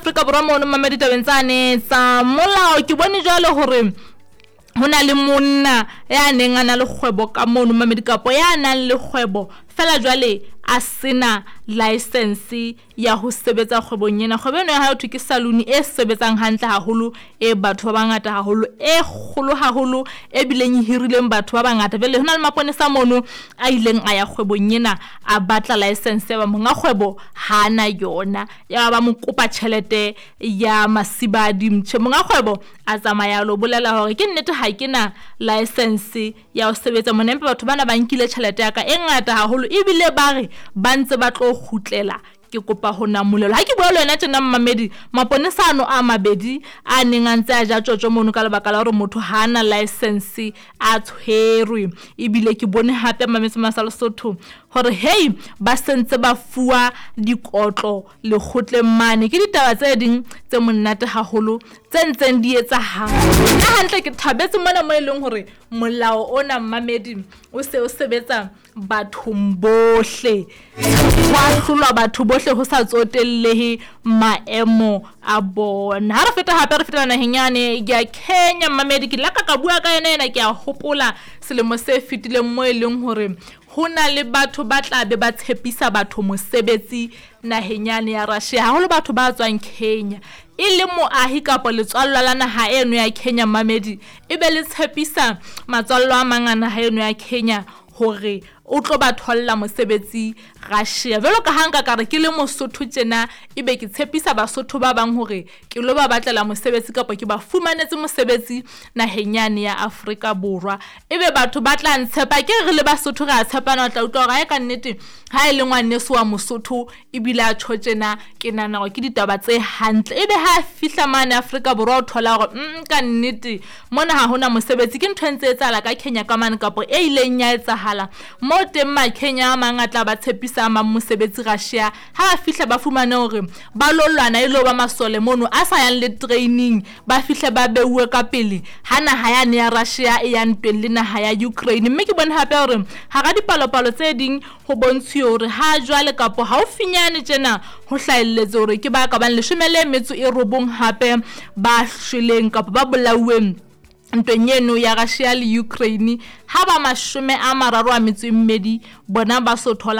Afrika Borwa mono mamedi tabeng tsane tsa molao ke bone jwale hore ho na le monna ya neng a na le kgwebo ka mono mamedi kapo ya nang le kgwebo fela jwale a sena license ya ho sebetsa kgwebong ena. Kgwebo eno ya hae ho thwe ke saloon e sebetsang hantle haholo, e batho ba bangata haholo, e kgolo haholo, e bileng e hirileng batho ba bangata. Jwale ho na le maponesa mono a ileng a ya kgwebong ena a batla license ya ba monga kgwebo ha na yona. Ya ba mo kopa tjhelete ya masibadi. Mtjhe monga kgwebo a tsamaya a lo bolela hore ke nnete ha ke na license ya ho sebetsa mona, empa batho bana ba nkile tjhelete ya ka e ngata haholo ebile ba re ba ntse ba tlo kgutlela, ke kopa ho namolelwa. Ha ke bua le wena tjena mmamedi, maponesa ano a mabedi a neng a ntse a ja tjotjo mono ka lebaka la hore motho ha ana license a tshwerwe. Ebile ke bone hape mametse masa Lesotho hore hei ba sentse ba fuwa dikotlo lekgotleng mane. Ke ditaba tse ding tse monate haholo tse ntseng di etsahala. Nna hantle ke thabetse mona mo e leng hore molao ona mmamedi o se o sebetsa bathong bohle, ho ahlolwa batho bohle ho sa tsotellehe maemo a bona. Ha re feta hape re fetela naheng yane ya Kenya mmamedi, ke laka ka bua ka yena ena ke a hopola selemo se fetileng mo e leng hore ho na le batho ba tla be ba tshepisa batho mosebetsi naheng yane ya Russia, haholo batho ba tswang Kenya. E le moahi kapa letswallwa la naha eno ya Kenya mmamedi, e be le tshepisa matswallo a mang a naha eno ya Kenya hore o tlo ba tholla mosebetsi Russia. Jwalo ka ha nka ka re ke le Mosotho tjena, ebe ke tshepisa Basotho ba bang hore ke lo ba batlela mosebetsi kapa ke ba fumanetse mosebetsi naheng yane ya Afrika Borwa, ebe batho ba tla ntshepa. Ke re le Basotho re a tshepana, o tla utlwa hore ae ka nnete ha e le ngwaneso wa Mosotho ebile a tjho tjena, ke nahana hore ke ditaba tse hantle. Ebe ha a fihla mane Afrika Borwa o thola hore ka nnete mona ha hona mosebetsi. Ke ntho e ntse etsahala ka Kenya ka mane kapa e ileng ya etsahala mo teng Makenya a mang a tla ba tshepisa a mang mosebetsi Russia. Ha ba fihla ba fumane hore ba lo lwana e lo ba masole mono a sa yang le training, ba fihle ba beuwe ka pele ha naha yane ya Russia e ya ntweng le naha ya Ukraine. Mme ke bone hape hore hara dipalopalo tse ding ho bontshuwe hore ha jwale kapo haufinyane tjena ho hlahelletse hore ke ba ka bang 19 hape ba shweleng kapa ba bolauweng ntweng eno ya Russia le Ukraine, ha ba 32 bona ba so thola.